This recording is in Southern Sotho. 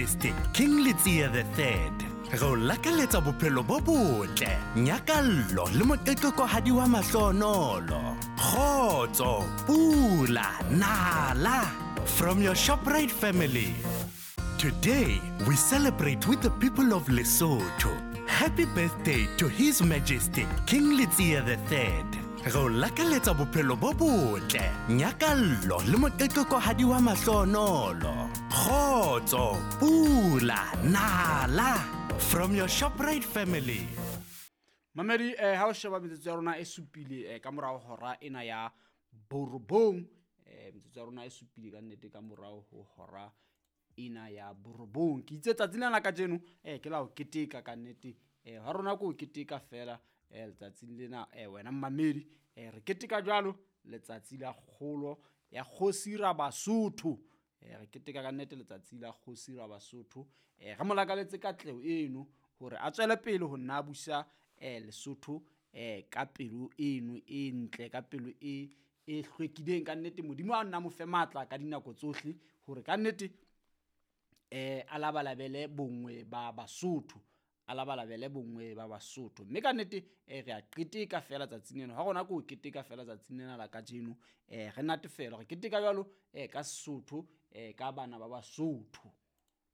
Majesty King Letsie the Third. Re o lakaletsa bophelo bo botle, nyakallo le moqeqekohadi wa mahlonolo. Kgotso, pula, nala. From your ShopRite family. Today, we celebrate with the people of Lesotho. Happy birthday to His Majesty King Letsie the Third. Re o lakaletsa bophelo bo botle, nyakallo le moqeqekohadi wa mahlonolo. Kgotso, pula, nala. From your ShopRite family. Mamedi, ha o sheba metsotso ya rona e supile ka morao hora ena ya borobong, metsotso ya rona e supile ka nnete ka morao ho hora ena ya borobong. Ke itse tsatsi lena la kajeno, ke la ho keteka ka nnete. Ha rona ke ho keteka fela, letsatsing lena, wena mmamedi, re keteka jwalo letsatsi la kgolo ya kgosi Rabasotho. Re keteka ka nnete letsatsi la kgosi Rabasotho. Re mo lakaletse katleho eno hore a tswele pele ho nna busa, Lesotho, ka pelo eno e ntle, ka pelo e hlwekileng ka nnete. Modimo a nna mo fe matla ka dinako tsohle hore ka nnete, a labalabele bonngwe ba Basotho, a labalabele bonngwe ba Basotho. Mme ka nnete, re a qeteka fela tsatsing lena. Ha rona ke ho keteka fela tsatsing lena la kajeno, re natefelwa, re keteka jwalo, ka Sesotho, ka bana ba Basotho.